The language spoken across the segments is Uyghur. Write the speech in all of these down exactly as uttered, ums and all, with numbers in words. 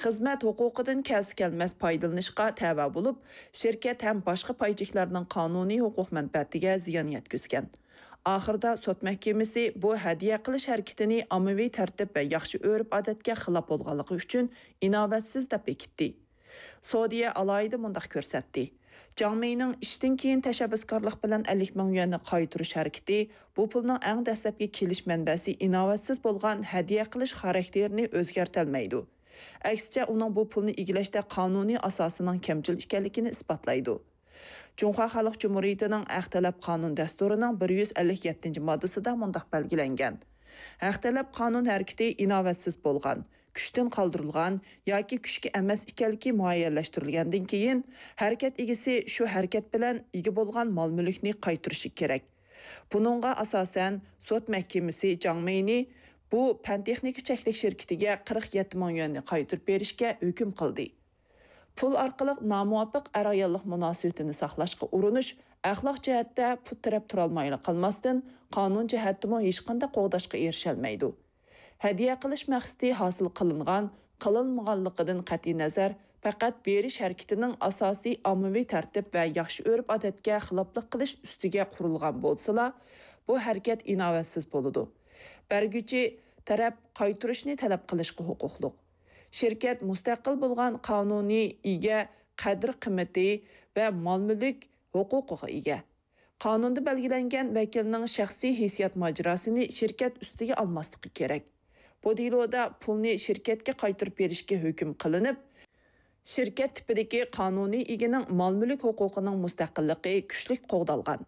خىزمەت ھوقۇقىدىن كەلسە-كەلمەس پايدىلىنىشقا تەۋە بولۇپ، شىركەت ھەم باشقا پايچىكلارنىڭ قانۇنىي ھوقۇق مەنپەئەتىگە زىيان يەتكۈزگەن. ئاخىرىدا سوت مەھكىمىسى بۇ ھەدىيە قىلىش ھەرىكىتىنى ئاممىۋى تەرتىپ ۋە ياخشى ئۆرپ-ئادەتكە خىلاپ بولغانلىقى ئۈچۈن ئىناۋەتسىز دەپ بېكىتتى. سودىيە ئالاھىدە مۇنداق كۆرسەتتى: جاڭ مېينىڭ ئىشتىن كېيىن تەشەببۇسكارلىق بىلەن ئەللىك مىڭ يۈەننى قايتۇرۇش ھەرىكىتى بۇ پۇلنىڭ ئەڭ دەسلەپكى كېلىش مەنبەسى ئىناۋەتسىز بولغان ھەدىيە قىلىش خاراكتېرىنى ئۆزگەرتەلمەيدۇ. ئەكسىچە، ئۇنىڭ بۇ پۇلنى ئىگىلەشتە قانۇنىي ئاساسىنىڭ كەمچىل ئىكەنلىكىنى ئىسپاتلايدۇ. جۇڭخۇا خەلق جۇمھۇرىيىتىنىڭ ھەق تەلەپ قانۇن دەستۇرىنىڭ بىر يۈز ئەللىك يەتتىنچى ماددىسىدا مۇنداق بەلگىلەنگەن: ھەق تەلەپ قانۇن ھەرىكىتى ئىناۋەتسىز بولغان، كۈچتىن قالدۇرۇلغان ياكى كۈچكە ئەمەس ئىكەنلىكى مۇئەييەنلەشتۈرۈلگەندىن كېيىن، ھەرىكەت ئىگىسى شۇ ھەرىكەت بىلەن ئىگە بولغان مال-مۈلۈكنى قايتۇرۇشى كېرەك. بۇنىڭغا ئاساسەن، سوت مەھكىمىسى جاڭ مېينى بۇ پەن-تېخنىكا چەكلىك شىركىتىگە قىرىق يەتتە مىڭ يۈەننى قايتۇرۇپ بېرىشكە ھۆكۈم قىلدى. پۇل ئارقىلىق نامۇۋاپىق ئەر-ئاياللىق مۇناسىۋىتىنى ساقلاشقا ئۇرۇنۇش ئەخلاق جەھەتتە پۇت تىرەپ تۇرالمايلا قالماستىن، قانۇن جەھەتتىمۇ ھېچقانداق قوغداشقا ئېرىشەلمەيدۇ. ھەدىيە قىلىش مەقسىتى ھاسىل قىلىنغان، قىلىنمىغانلىقىدىن قەتئىينەزەر، پەقەت بېرىش ھەرىكىتىنىڭ ئاساسىي ئاممىۋى تەرتىپ ۋە ياخشى ئۆرپ-ئادەتكە خىلاپلىق قىلىش ئۈستىگە قۇرۇلغان بولسىلا، بۇ ھەرىكەت ئىناۋەتسىز بولىدۇ. بەرگۈچى تەرەپ قايتۇرۇشنى تەلەپ قىلىشقا ھوقۇقلۇق. شىركەت مۇستەقىل بولغان قانۇنىي ئىگە قەدىر-قىممىتى ۋە مال-مۈلۈك ھوقۇقىغا ئىگە. قانۇندا بەلگىلەنگەن ۋەكىلنىڭ شەخسىي ھېسسىيات ماجىراسىنى شىركەت ئۈستىگە ئالماسلىقى كېرەك. بۇ دېلودا پۇلنى شىركەتكە قايتۇرۇپ بېرىشكە ھۆكۈم قىلىنىپ، شىركەت تىپىدىكى قانۇنىي ئىگىنىڭ مال-مۈلۈك ھوقۇقىنىڭ مۇستەقىللىقى كۈچلۈك قوغدالغان.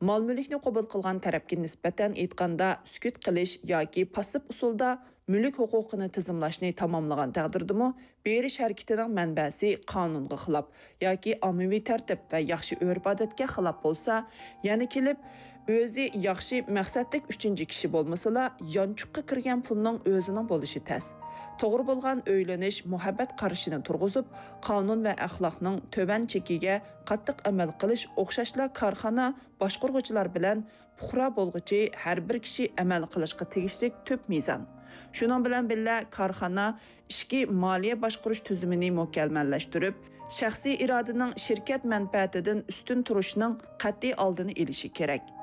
مال-مۈلۈكنى قوبۇل قىلغان تەرەپكە نىسبەتەن ئېيتقاندا، سۈكۈت قىلىش ياكى پاسسىپ ئۇسۇلدا مۈلۈك ھوقۇقىنى تىزىملاشنى تاماملىغان تەقدىردىمۇ، بېرىش ھەرىكىتىنىڭ مەنبەسى قانۇنغا خىلاپ ياكى ئاممىۋى تەرتىپ ۋە ياخشى ئۆرپ-ئادەتكە خىلاپ بولسا، يەنە كېلىپ ئۆزى ياخشى مەقسەتلىك ئۈچىنچى كىشى بولمىسىلا، يانچۇققا كىرگەن پۇلنىڭ ئۆزىنىڭ بولۇشى تەس. توغرا بولغان ئۆيلىنىش، مۇھەببەت قارىشىنى تۇرغۇزۇپ، قانۇن ۋە ئەخلاقنىڭ تۆۋەن چېكىگە قاتتىق ئەمەل قىلىش ئوخشاشلا كارخانا باشقۇرغۇچىلار بىلەن پۇقرا بولغۇچى ھەر بىر كىشى ئەمەل قىلىشقا تېگىشلىك تۈپ مىزان. شۇنىڭ بىلەن بىللە، كارخانا ئىچكى مالىيە باشقۇرۇش تۈزۈمىنى مۇكەممەللەشتۈرۈپ، شەخسىي ئىرادىنىڭ شىركەت مەنپەئەتىدىن ئۈستۈن تۇرۇشىنىڭ قەتئىي ئالدىنى ئېلىشى كېرەك.